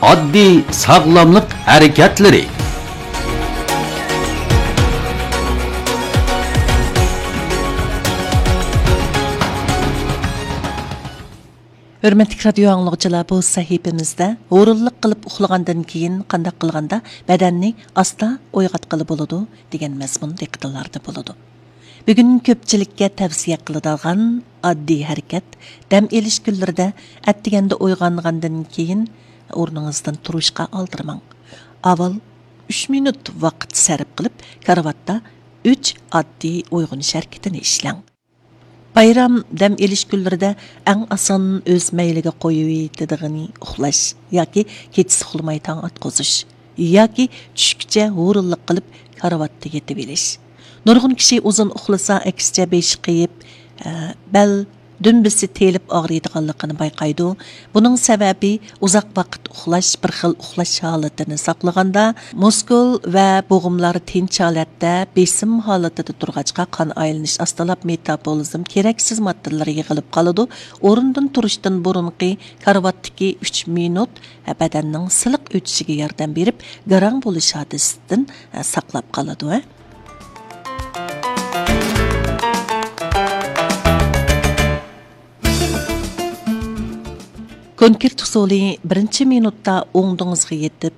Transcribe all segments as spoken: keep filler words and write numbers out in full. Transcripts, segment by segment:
ئاددىي ساغلاملىق ھەرىكەتلىرى. ھۆرمەتلىك رادىيو ئاڭلىغۇچىلار، بۇ سەھىپىمىزدە ھۇرۇنلۇق قىلىپ ئۇخلىغاندىن كېيىن قانداق قىلغاندا بەدەننى ئاستا ئويغاتقىلى بولىدۇ دېگەن مەزمۇن دىققىتىڭلاردا بولىدۇ. بۈگۈن كۆپچىلىككە تەۋسىيە قىلىدىغان ئاددىي ھەرىكەت، دەم ئېلىش كۈنلىرىدە ئەتىگەندە ئويغانغاندىن كېيىن ئورنىڭىزدىن تۇرۇشقا ئالدىرىماڭ. ئاۋۋال ئۈچ مىنۇت ۋاقىت سەرپ قىلىپ، كارىۋاتتا ئۈچ ئاددىي ئويغىنىش ھەرىكىتىنى ئىشلەڭ. بايرام دەم ئېلىش كۈنلىرىدە ئەڭ ئاسان ئۆز مەيلىگە قويۇۋېتىدىغىنى ئۇخلاش ياكى كېچىسى ئۇخلىماي تاڭ ئاتقۇزۇش ياكى چۈشكىچە ھۇرۇنلۇق قىلىپ كارىۋاتتا يېتىۋېلىش. نۇرغۇن كىشى ئۇزۇن ئۇخلىسا، ئەكسىچە بېشى قېيىپ، ئە، بەل دۈمبىسى تېلىپ ئاغرىيدىغانلىقىنى بايقايدۇ. بۇنىڭ سەۋەبى ئۇزاق ۋاقىت ئۇخلاش، بىر خىل ئۇخلاش ھالىتىنى ساقلىغاندا، مۇسكۇل ۋە بوغۇملار تىنچ ھالەتتە بېسىم ھالىتىدە تۇرغاچقا، قان ئايلىنىش ئاستىلاپ، مېتابولىزم كېرەكسىز ماددىلىرى يىغىلىپ قالىدۇ. ئورۇندىن تۇرۇشتىن بۇرۇنقى كارىۋاتتىكى ئۈچ مىنۇت بەدەننىڭ سىلىق ئۆتۈشىگە ياردەم بېرىپ، گاراڭ بولۇش ھادىسىسىدىن ساقلاپ قالىدۇ. كونكرېت ئۇسۇلى: بىرىنچى مىنۇتتا ئوڭدىڭىزغا يېتىپ،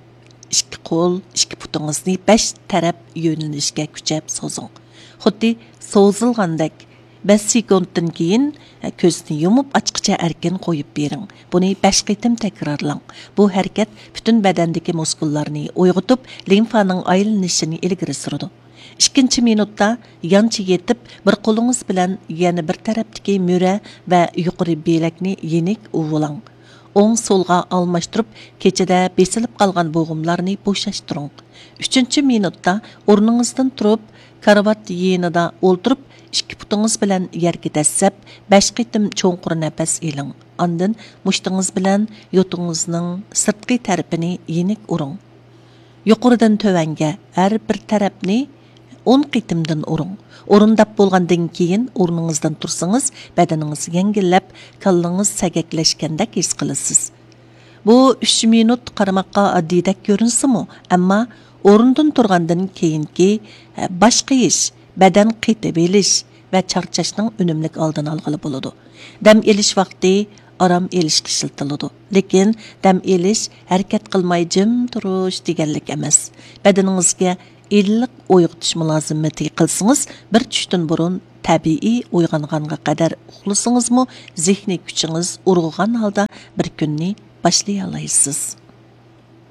ئىككى قول، ئىككى پۇتىڭىزنى بەش تەرەپ يۆنىلىشكە كۈچەپ سوزۇڭ. خۇددى سوزۇلغاندەك. بەش سېكۇنتتىن كېيىن كۆزنى يۇمۇپ ئاچقىچە ئەركىن قويۇپ بېرىڭ. بۇنى بەش قېتىم تەكرارلاڭ. بۇ ھەرىكەت پۈتۈن بەدەندىكى مۇسكۇللارنى ئويغىتىپ، لىمفانىڭ ئايلىنىشىنى ئىلگىرى سۈرىدۇ. ئىككىنچى مىنۇتتا يانچە يېتىپ، بىر قولىڭىز بىلەن يەنە بىر تەرەپتىكى مۈرە ۋە يۇقىرى بىلەكنى يېنىك ئۇۋۇلاڭ. ئوڭ سولغا ئالماشتۇرۇپ، كېچىدە بېسىلىپ قالغان بوغۇملارنى بوشاشتۇرۇڭ. ئۈچىنچى مىنۇتتا ئورنىڭىزدىن تۇرۇپ، كارىۋات يېنىدا ئولتۇرۇپ، ئىككى پۇتىڭىز بىلەن يەرگە دەسسەپ، بەش قېتىم چوڭقۇر نەپەس ئېلىڭ. ئاندىن مۇشتىڭىز بىلەن يوتىڭىزنىڭ سىرتقى تەرىپىنى يېنىك ئۇرۇڭ. يۇقىرىدىن تۆۋەنگە ھەر بىر تەرەپنى ئون قېتىمدىن ئۇرۇڭ. ئورۇنداپ بولغاندىن كېيىن ئورنىڭىزدىن تۇرسىڭىز، بەدىنىڭىز يەڭگىللەپ، كاللىڭىز سەگەكلەشكەندەك ھېس قىلىسىز. بۇ ئۈچ مىنۇت قارىماققا ئاددىيدەك كۆرۈنسىمۇ، ئەمما ئورۇندىن تۇرغاندىن كېيىنكى، ئە، باش قېيىش، بەدەن قېتىۋېلىش ۋە چارچاشنىڭ ئۈنۈملۈك ئالدىنى ئالغىلى بولىدۇ. دەم ئېلىش ۋاقتى ئارام ئېلىشقا ئىشلىتىلىدۇ. لېكىن دەم ئېلىش، ھەرىكەت قىلماي جىم تۇرۇش دېگەنلىك ئەمەس. بەدىنىڭىزگە ئىللىق ئويغىتىش مۇلازىمىتى قىلسىڭىز، بىر چۈشتىن بۇرۇن تەبىئىي ئويغانغانغا قەدەر ئۇخلىسىڭىزمۇ، زېھنىي كۈچىڭىز ئۇرغۇغان ھالدا بىر كۈننى باشلىيالايسىز.